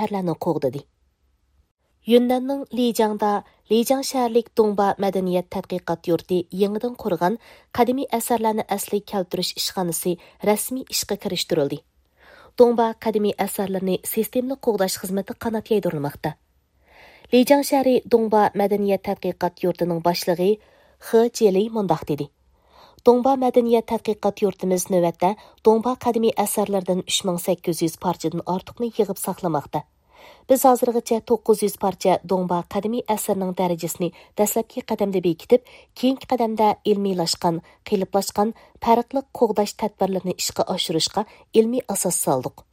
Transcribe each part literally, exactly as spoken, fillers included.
تەھدىتلەرنى قوغدىدى. يۈننەننىڭ لىجياڭدا لىجياڭ شەھەرلىك دۇڭبا مەدەنىيەت تەتقىقات يۇرتى يېڭىدىن قۇرغان قەدىمىي ئەسەرلەرنى ئەسلىگە كەلتۈرۈش ئىشخانىسى رەسمىي ئىشقا كىرىشتۈرۈلدى. دۇڭبا قەدىمىي ئەسەرلىرىنى سىستېمىلىق قوغداش خىزمىتى قانات يايدۇرۇلماقتا. لىجياڭ شەھىرى دۇڭبا مەدەنىيەت تەتقىقات يۇرتىنىڭ باشلىقى خې جيېلى مۇنداق دېدى: دۇڭبا مەدەنىيەت تەتقىقات يۇرتىمىز نۆۋەتتە دۇڭبا قەدىمىي ئەسەرلىرىدىن ئۈچ مىڭ سەككىز يۈز پارچىدىن ئارتۇقنى يىغىپ ساقلىماقتا. بىز ھازىرغىچە توققۇز يۈز پارچە دۇڭبا قەدىمىي ئەسىرىنىڭ دەرىجىسىنى دەسلەپكى قەدەمدە بېكىتىپ، كېيىنكى قەدەمدە ئىلمىيلاشقان، قېلىپلاشقان، پەرقلىق قوغداش تەدبىرلىرىنى ئىشقا ئاشۇرۇشقا ئىلمىي ئاساس سالدۇق.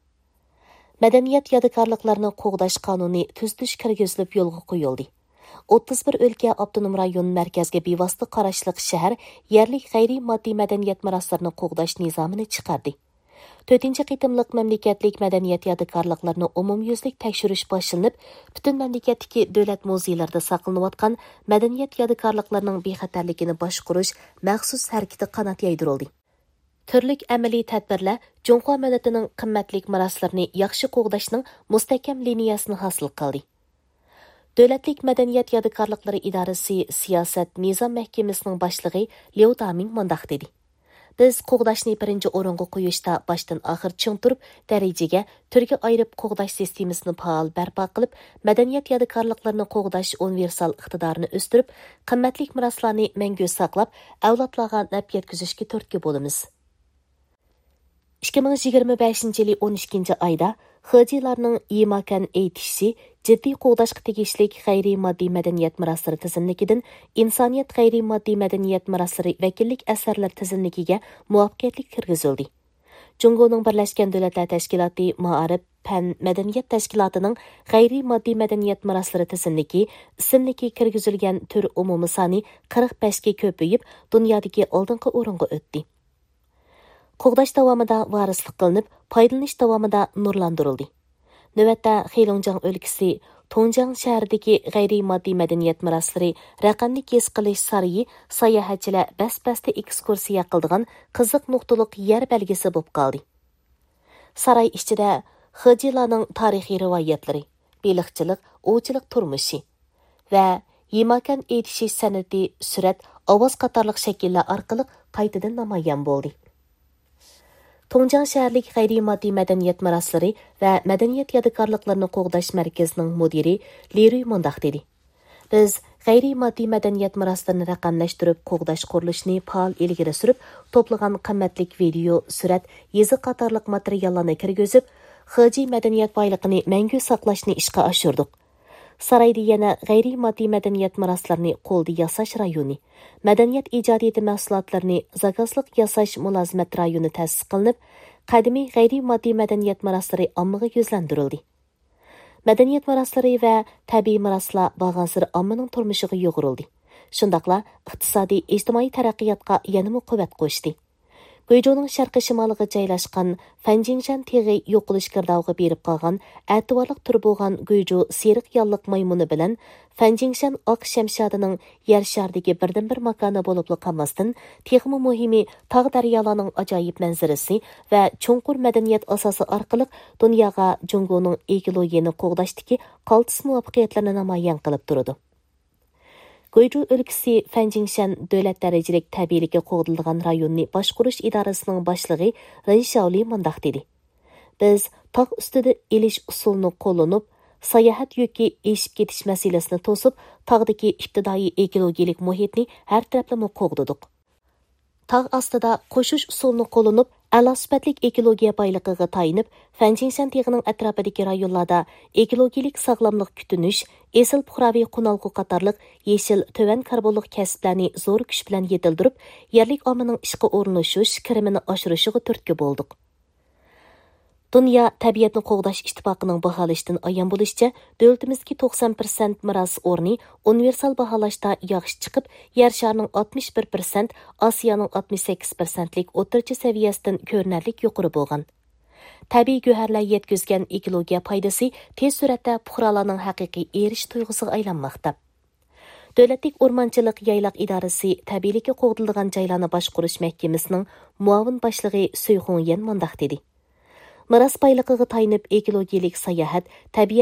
مەدەنىيەت يادىكارلىقلارنى قوغداش قانۇنى تۈزىتىش كىرگۈزۈلۈپ يولغا قويۇلدى. ئوتتۇز بىر ئۆلكە، ئاپتونوم رايون، مەركەزگە بىۋاسىتە قاراشلىق شەھەر يەرلىك غەيرىي ماددىي مەدەنىيەت مىراسلىرىنى قوغداش نىزامىنى چىقاردى. تۆتىنچى قېتىملىق مەملىكەتلىك مەدەنىيەت يادىكارلىقلىرىنى ئومۇميۈزلۈك تەكشۈرۈش باشلىنىپ، پۈتۈن مەملىكەتتىكى دۆلەت مۇزېيلىرىدا ساقلىنىۋاتقان مەدەنىيەت يادىكارلىقلىرىنىڭ بىخەتەرلىكىنى باشقۇرۇش مەخسۇس ھەرىكىتى قانات يايدۇرۇلدى. تۈرلۈك ئەمەلىي تەدبىرلەر جۇڭخۇا مىللىتىنىڭ قىممەتلىك مىراسلىرىنى ياخشى قوغداشنىڭ مۇستەھكەم لىنىيەسىنى ھاسىل قىلدى. دۆلەتلىك مەدەنىيەت يادىكارلىقلىرى ئىدارىسى سىياسەت نىزام مەھكىمىسىنىڭ باشلىقى ليۇ دامىڭ مۇنداق دېدى: بىز قوغداشنى بىرىنچى ئورۇنغا قويۇشتا باشتىن ئاخىر چىڭ تۇرۇپ، دەرىجىگە، تۈرگە ئايرىپ قوغداش سىستېمىسىنى پائال بەرپا قىلىپ، مەدەنىيەت يادىكارلىقلىرىنى قوغداش ئۇنىۋېرسال ئىقتىدارىنى ئۆستۈرۈپ، قىممەتلىك مىراسلارنى مەڭگۈ ساقلاپ، ئەۋلادلارغا نەپ يەتكۈزۈشكە تۈرتكە بولىمىز. ئىككى مىڭ يىگىرمە بەشىنچى يىلى ئون ئىككىنچى ئايدا خېجىلارنىڭ يىماكەن ئېيتىشى جىددىي قوغداشقا تېگىشلىك غەيرىي ماددىي مەدەنىيەت مىراسلىرى تىزىملىكىدىن ئىنسانىيەت غەيرىي ماددىي مەدەنىيەت مىراسلىرى ۋەكىللىك ئەسەرلەر تىزىملىكىگە مۇۋەپپەقىيەتلىك كىرگۈزۈلدى. جۇڭگونىڭ بىرلەشكەن دۆلەتلەر تەشكىلاتى مائارىپ، پەن، مەدەنىيەت تەشكىلاتىنىڭ غەيرىي ماددىي مەدەنىيەت مىراسلىرى تىزىملىكى ئىسىملىكى كىرگۈزۈلگەن تۈر ئومۇمىي سانى قىرىق بەشكە كۆپىيىپ، دۇنيادىكى ئالدىنقى ئورۇنغا ئۆتتى. قوغداش داۋامىدا ۋارىسلىق قىلىنىپ، پايدىلىنىش داۋامىدا نۇرلاندۇرۇلدى. نۆۋەتتە خېلۇڭجياڭ ئۆلكىسى تۇڭجياڭ شەھىرىدىكى غەيرىي ماددىي مەدەنىيەت مىراسلىرى رەقەملىك ھېس قىلىش سارىيى ساياھەتچىلەر بەس-بەستە ئېكسكۇرسىيە قىلىدىغان قىزىق نۇقتىلىق يەر بەلگىسى بولۇپ قالدى. ساراي ئىچىدە خېجىلارنىڭ تارىخىي رىۋايەتلىرى، بېلىقچىلىق، ئوۋچىلىق تۇرمۇشى ۋە يىماكەن ئېيتىشى سەنئىتى سۈرەت، ئاۋاز قاتارلىق شەكىللەر ئارقىلىق قايتىدىن نامايان بولدى. تۇڭجياڭ شەھەرلىك غەيرىي ماددىي مەدەنىيەت مىراسلىرى ۋە مەدەنىيەت يادىكارلىقلىرىنى قوغداش مەركىزىنىڭ مۇدىرى لى رۇي مۇنداق دېدى: بىز غەيرىي ماددىي مەدەنىيەت مىراسلىرىنى رەقەملەشتۈرۈپ قوغداش قۇرۇلۇشىنى پائال ئىلگىرى سۈرۈپ، توپلىغان قىممەتلىك ۋىدېئو، سۈرەت، يېزىق قاتارلىق ماتېرىياللارنى كىرگۈزۈپ، خېجى مەدەنىيەت بايلىقىنى مەڭگۈ ساقلاشنى ئىشقا ئاشۇردۇق. سارايدا يەنە غەيرىي ماددىي مەدەنىيەت مىراسلىرىنى قولدا ياساش رايونى، مەدەنىيەت ئىجادىيىتى مەھسۇلاتلىرىنى زاكازلىق ياساش مۇلازىمەت رايونى تەسىس قىلىنىپ، قەدىمىي غەيرىي ماددىي مەدەنىيەت مىراسلىرى ئاممىغا يۈزلەندۈرۈلدى. مەدەنىيەت مىراسلىرى ۋە تەبىئىي مىراسلار بارغانسېرى ئاممىنىڭ تۇرمۇشىغا يۇغۇرۇلدى. شۇنداقلا ئىقتىسادىي، ئىجتىمائىي تەرەققىياتقا يەنىمۇ قۇۋۋەت قوشتى. گۇيجۇنىڭ شەرقىي شىمالىغا جايلاشقان فەنجىڭشەن تېغى يوقىلىش گىردابىغا بېرىپ قالغان ئەتىۋارلىق تۈرى بولغان گۇيجۇ سېرىق ياللىق مايمۇنى بىلەن فەنجىڭشەن ئاق شەمشادىنىڭ يەر شارىدىكى بىردىنبىر ماكانى بولۇپلا قالماستىن، تېخىمۇ مۇھىمى تاغ دەريالارنىڭ ئاجايىپ مەنزىرىسى ۋە چوڭقۇر مەدەنىيەت ئاساسى ئارقىلىق دۇنياغا جۇڭگونىڭ ئېكولوگىيەنى قوغداشتىكى قالتىس مۇۋەپپەقىيەتلىرىنى نامايان قىلىپ تۇرىدۇ. گۇيجۇ ئۆلكىسى فەنجىڭشەن دۆلەت دەرىجىلىك تەبىئىيلىكى قوغدىلىدىغان رايوننى باشقۇرۇش ئىدارىسىنىڭ باشلىقى رېن شياۋلى مۇنداق دېدى: بىز تاغ ئۈستىدە ئېلىش ئۇسۇلىنى قوللىنىپ، ساياھەت يۈكى ئېشىپ كېتىش مەسىلىسىنى توسۇپ، تاغدىكى ئىپتىدائىي ئېكولوگىيەلىك مۇھىتنى ھەر تەرەپلىمە قوغدىدۇق. تاغ ئاستىدا قوشۇش ئۇسۇلىنى قوللىنىپ، ئەلا سۈپەتلىك ئېكولوگىيە بايلىقىغا تايىنىپ، فەنجىڭشەن تېغىنىڭ ئەتراپىدىكى رايونلاردا ئېكولوگىيەلىك ساغلاملىق كۈتۈنۈش، ئېسىل پۇقراۋى قونالغۇ قاتارلىق يېشىل، تۆۋەن كاربونلۇق كەسىپلەرنى زور كۈچ بىلەن يېتىلدۈرۈپ، يەرلىك ئاممىنىڭ ئىشقا ئورۇنلىشىش كىرىمىنى ئاشۇرۇشىغا تۈرتكە بولدۇق. دۇنيا تەبىئەتنى قوغداش ئىتتىپاقىنىڭ باھالىشىدىن ئايان بولۇشىچە، دۆلىتىمىزدىكى توقسان پىرسەنت مىراس ئورنى ئۇنىۋېرسال باھالاشتا ياخشى چىقىپ، يەر شارىنىڭ ئاتمىش بىر پىرسەنت، ئاسىيانىڭ ئاتمىش سەككىز پىرسەنتلىك ئوتتۇرىچە سەۋىيەسىدىن كۆرۈنەرلىك يۇقىرى بولغان. تەبىئىي گۆھەرلەر يەتكۈزگەن ئېكولوگىيە پايدىسى تېز سۈرئەتتە پۇقرالارنىڭ ھەقىقىي ئېرىشىش تۇيغۇسىغا ئايلانماقتا. دۆلەتلىك ئورمانچىلىق يايلاق ئىدارىسى تەبىئىيلىكى قوغدىلىدىغان جايلارنى باشقۇرۇش مەھكىمىسىنىڭ مۇئاۋىن باشلىقى سۈي خۇڭيەن مۇنداق دېدى: مىراس بايلىقىغا تايىنىپ ئېكولوگىيەلىك ساياھەت، تەبىئىي